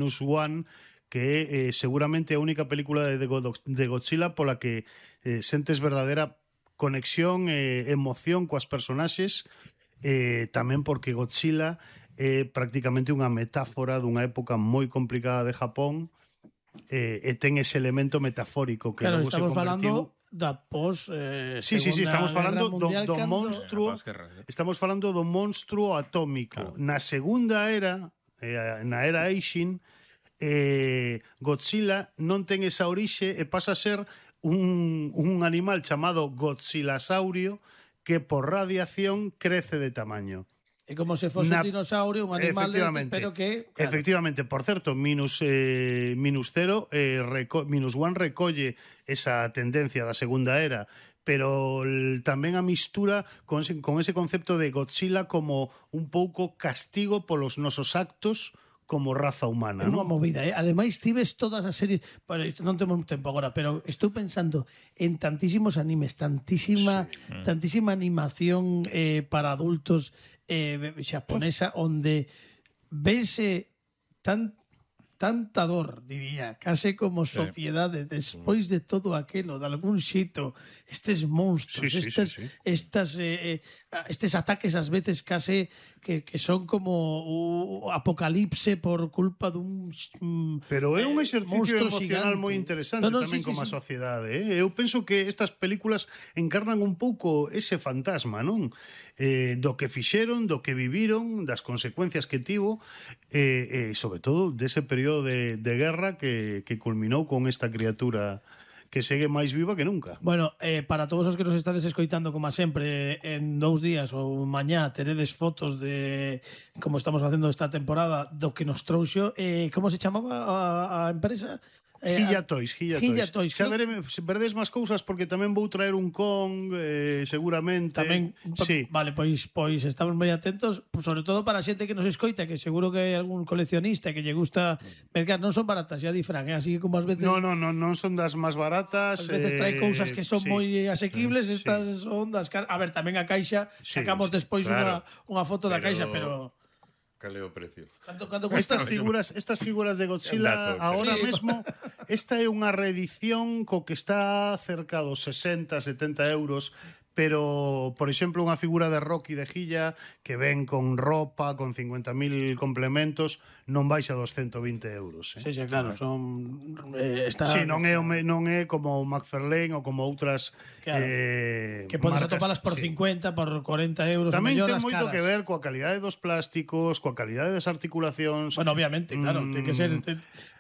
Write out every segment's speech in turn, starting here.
Minus One, que é seguramente a única película de Godzilla pola que sentes verdadeira conexión e emoción coas personaxes, tamén porque Godzilla é prácticamente unha metáfora dunha época moi complicada de Japón, e ten ese elemento metafórico que claro, logo se estamos convertiu... falando da pos Sí, estamos falando do monstruo, estamos falando do monstruo atómico. Claro. Na segunda era, na era Eishin, Godzilla non ten esa orixe e pasa a ser un animal chamado Godzillasaurio que por radiación crece de tamaño. É como se fose un dinosaurio, un animal deste, pero que... Claro. Efectivamente, por certo, Minus One recolle esa tendencia da segunda era, pero tamén a mistura con ese concepto de Godzilla como un pouco castigo polos nosos actos como raza humana, É unha ¿no? movida, Ademais, tives todas as series... Bueno, non temos tempo agora, pero estou pensando en tantísimos animes, tantísima animación para adultos xaponesa, onde vense tanta dor, diría, case como sociedade, despois de todo aquilo, de algún xito, estes monstruos, estes ataques ás veces case que son como o apocalipse por culpa dun pero é un exercicio gigante. emocional moi interesante tamén como a sociedade. Eu penso que estas películas encarnan un pouco ese fantasma, non? Do que fixeron, do que viviron, das consecuencias que tivo, e sobre todo dese período de guerra que culminou con esta criatura que segue máis viva que nunca. Bueno, para todos os que nos estades escoitando, como sempre, en 2 días ou mañá teredes fotos de como estamos facendo esta temporada do que nos trouxo. Como se chamaba a empresa? Hilla Toys. Toys. Xa veredes máis cousas porque tamén vou traer un Kong, seguramente. Tamén, sí. Vale, pois estamos moi atentos, sobre todo para a xente que nos escoita, que seguro que hai algún coleccionista que lle gusta mercar. Non son baratas, xa di Fran, así que como ás veces... Non son das máis baratas. Ás veces trae cousas que son moi asequibles, estas son das... A ver, tamén a caixa, sacamos despois unha foto da caixa, pero... Cal é o precio? Canto estas figuras de Godzilla ahora mesmo, esta é unha reedición co que está cerca dos 60-70 euros, pero, por exemplo, unha figura de Rocky de Hilla que ven con ropa, con 50.000 complementos, non baixa dos 120 euros. Sí, claro, son... non é como McFarlane ou como outras que podes atopalas por 50, por 40 euros. Tamén ten moito que ver coa calidade dos plásticos, coa calidade das articulacións. Bueno, obviamente, claro, ten que ser...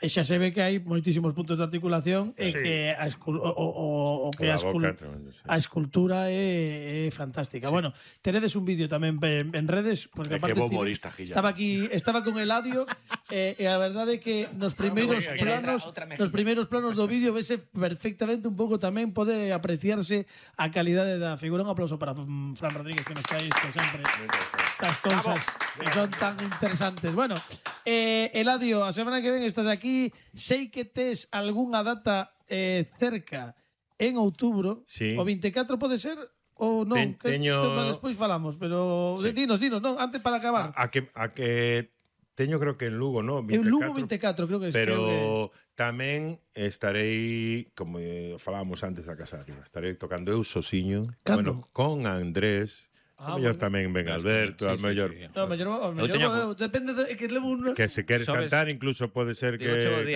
Xa se ve que hai moitísimos puntos de articulación e que a escultura é fantástica. Bueno, teredes un vídeo tamén en redes, porque aparte que bo humorista, Gilla. Estaba con Eladio e a verdade é que nos primeiros planos do vídeo vese perfectamente un pouco, tamén pode apreciarse a calidade da figura. Un aplauso para Fran Rodríguez, que nos trae isto sempre, estas cousas que son tan interesantes. Bueno, Eladio, a semana que ven estás aquí, sei que tes algunha data cerca en outubro, o 24 pode ser ou non? Despois falamos, pero dinos, non, antes para acabar. A que teño, creo que en Lugo, ¿no? 24, en Lugo 24, creo que es. Pero tamén estarei, como falábamos antes da Casa Arriba, estarei tocando eu sosiño, bueno, con Andrés. A mellor tamén ven Alberto, a mellor... Depende de que levo un... Que se queres cantar, incluso pode ser que...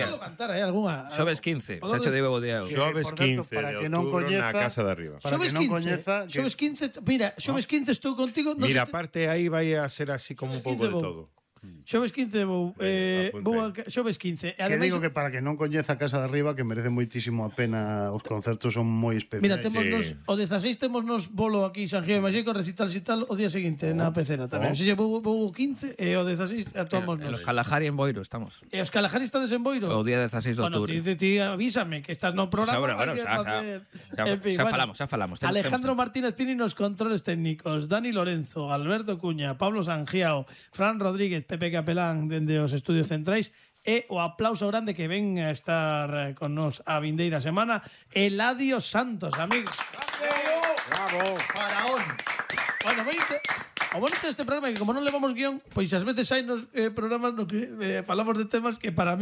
Podo cantar, algunha... Xoves 15, xa te digo o día. Xoves 15 de outubro na Casa de Arriba. Xoves 15, mira, Xoves 15 estou contigo... Mira, aparte aí vai a ser así como un pouco de todo. Xoves 15 vou Xoves 15. Que digo que para que non coñeza a Casa de Arriba, que merece moitísimo a pena, os concertos son moi especiais. Mira, témonos o 16 témonos bolo aquí San Gio de Maxi con recital e tal o día seguinte na pecera tamén. Se vou 15 e o 16 actuamos nos. Os Calajari en Boiro estamos. E os Calajari estades en Boiro? O día 16 de outubro. Bueno, ti avísame que estás no programa. Xa falamos. Alejandro Martínez Pini nos controles técnicos, Dani Lorenzo, Alberto Cuña, Pablo Sangiao, Fran Rodríguez, Pepe Capelán dende os estudios centrais e o aplauso grande que ven a estar con nos a vindeira semana, Eladio Santos, amigos. Bravo. Faraón. Bueno, veinte. O bonito deste programa é que como non levamos guión, pois ás veces hai nos programas no que falamos de temas que para mí